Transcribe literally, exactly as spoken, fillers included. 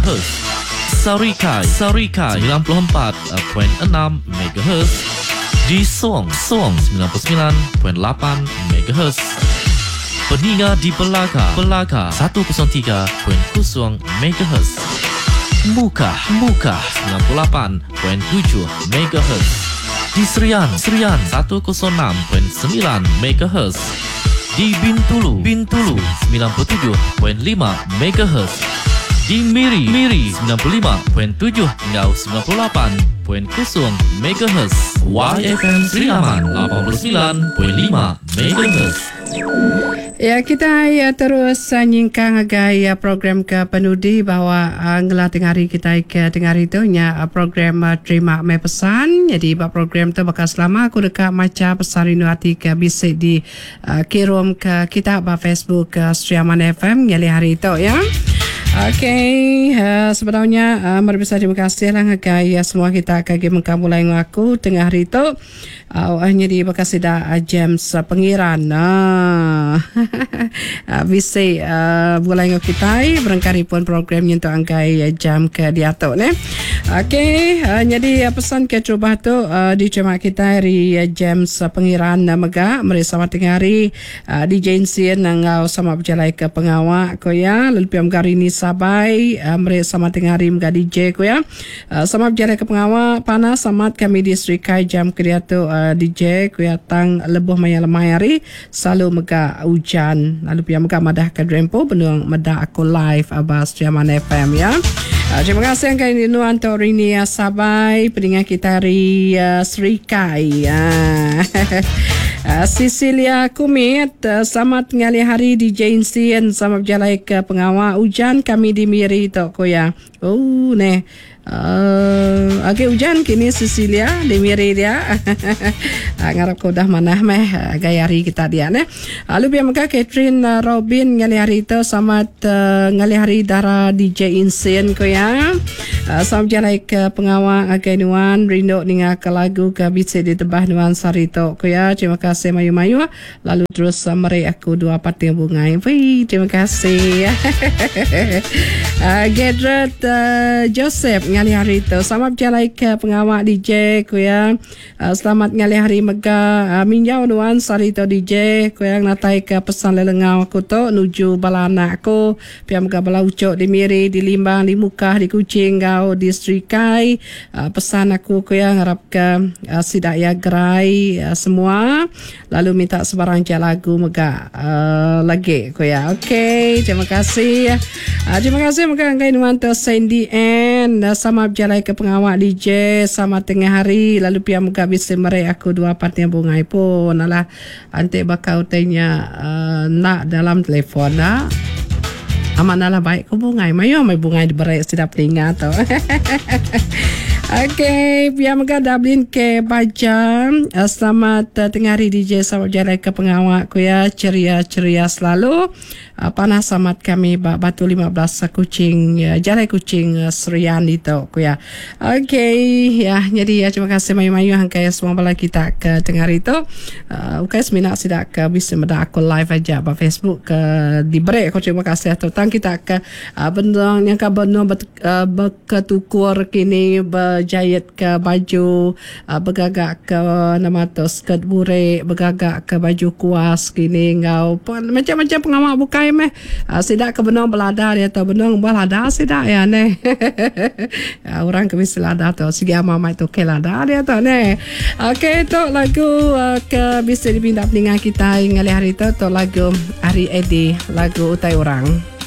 M H. Sarikai, Sarikai sembilan puluh empat perpuluhan enam megahertz. Di Song, Song sembilan puluh sembilan perpuluhan lapan megahertz. Peninga di Belaga, Belaga seratus tiga perpuluhan kosong megahertz. Mukah, Mukah sembilan puluh lapan perpuluhan tujuh megahertz. Di Serian, Serian seratus enam perpuluhan sembilan megahertz. Di Bintulu, Bintulu sembilan puluh tujuh perpuluhan lima megahertz. Di Miri, Miri sembilan puluh lima perpuluhan tujuh hingga sembilan puluh lapan perpuluhan kosong megahertz. Y F M Sri Aman lapan puluh sembilan perpuluhan lima megahertz. Ya, kita ya terus uh, nyingkang agai ya, program ke penudi bahawa uh, ngelah tengah hari kita ke tengah hari tu nya uh, program uh, terima mai pesan. Jadi bab program tu bakal selama aku dekat maca pesan rindu hati ke bisik di uh, kirim ke kita ba Facebook ke Sri Aman F M nyali hari tu ya. Okey, uh, sebenarnya uh, mari besar terima kasih lah ngagai uh, semua kita kagi mengkam mulai ngaku tengah hari tu. Uh, hanya di bekasi dah uh, James uh, Pengiran. Ah. uh, bisi uh, mulai ngau kita berangkari pun program nyentuh angkai uh, jam ke diatok ne. Okey, uh, jadi uh, pesan ke cuba tu uh, di cuma kita hari uh, James uh, Pengiran uh, mega mari sama tengah hari uh, di Jensen ngau sama berjalan ke pengawak ko ya. Lalu piam gari ni sabai uh, mari sama tengah hari mega D J ko ya. Uh, sama berjalan ke pengawak panas samat kami di Serikai jam ke diatok uh, D J ku ya tang lebuh maya lemai hari selalu mega hujan lalu pia mega madah ke drempo benung meda aku live abas Sri Aman F M ya. Uh, terima kasih yang kali ini untuk Rini uh, Sabai pendengar kita hari uh, Serikai. Uh. Uh, Cecilia Kumit, uh, selamat ngalih hari di J N C sama berjalan ke pengawal hujan kami di Miri tok ko ya. Oh neh. Uh, okey hujan kini Cecilia di Miri dia. Uh, ngarap kau dah manah meh uh, gaya hari kita dia neh. Lalu biar mega Catherine uh, Robin ngalih hari tu selamat uh, ngalih hari dara D J Insin ko ya. Uh, selamat berjalan ke pengawal agai nuan rindu ninga ke lagu ke bisi di tebah nuan sari tok ko ya. Terima kasih mayu-mayu lalu terus uh, meri aku dua pating bunga. Wih, terima kasih. uh, Gedret uh, Joseph ngalih hari tu selamat berjalan ke pengawal D J ku ya. Uh, selamat ngalih hari mega uh, minjau nuan sari tu D J ku yang natai ke pesan lelengau aku tu nuju bala anak aku pia mega bala ucok di Miri di Limbang di Mukah di Kuching gau di Serikai. Uh, pesan aku ku yang harap ke uh, sidak ya gerai uh, semua lalu minta sebarang je lagu mega uh, lagi ku ya. Okey, terima kasih. Uh, terima kasih mega ngai nuan tu Sandy N sama berjalan ke pengawal D J sama tengah hari lalu pia muka bisa merek aku dua pating bungai pun alah antik bakau tanya uh, nak dalam telefon nak aman lah baik ke bungai mayo mai bungai diberek sedap telinga tu. Okey, pia mega Dublin ke baca. Selamat uh, tengah hari D J sama berjalan ke pengawal ku ya, ceria-ceria selalu. Uh, panas amat kami bak Batu lima belas Kuching, uh, Jalai Kuching uh, Serian itu ku ya. Okey, ya jadi ya terima kasih mayu-mayu hangkai semua bala kita ke tengah hari itu. Uh, okey seminat sidak ke bisa meda aku live aja ba Facebook ke di break aku terima kasih tentang kita ke uh, bendang yang ka benung uh, berketukur kini ber jahit ke baju uh, bergagak ke nama tu skirt burek bergagak ke baju kuas kini ngau macam-macam pengawal bukai meh uh, sidak ke benung belada dia tu benung belada sidak ya ne. Uh, orang ke mesti lada tu sigi amai tu ke lada dia tu ne. Okey tu lagu uh, ke bisa dipindah peningan kita ngalih hari tu tu lagu Ari Edi lagu utai orang.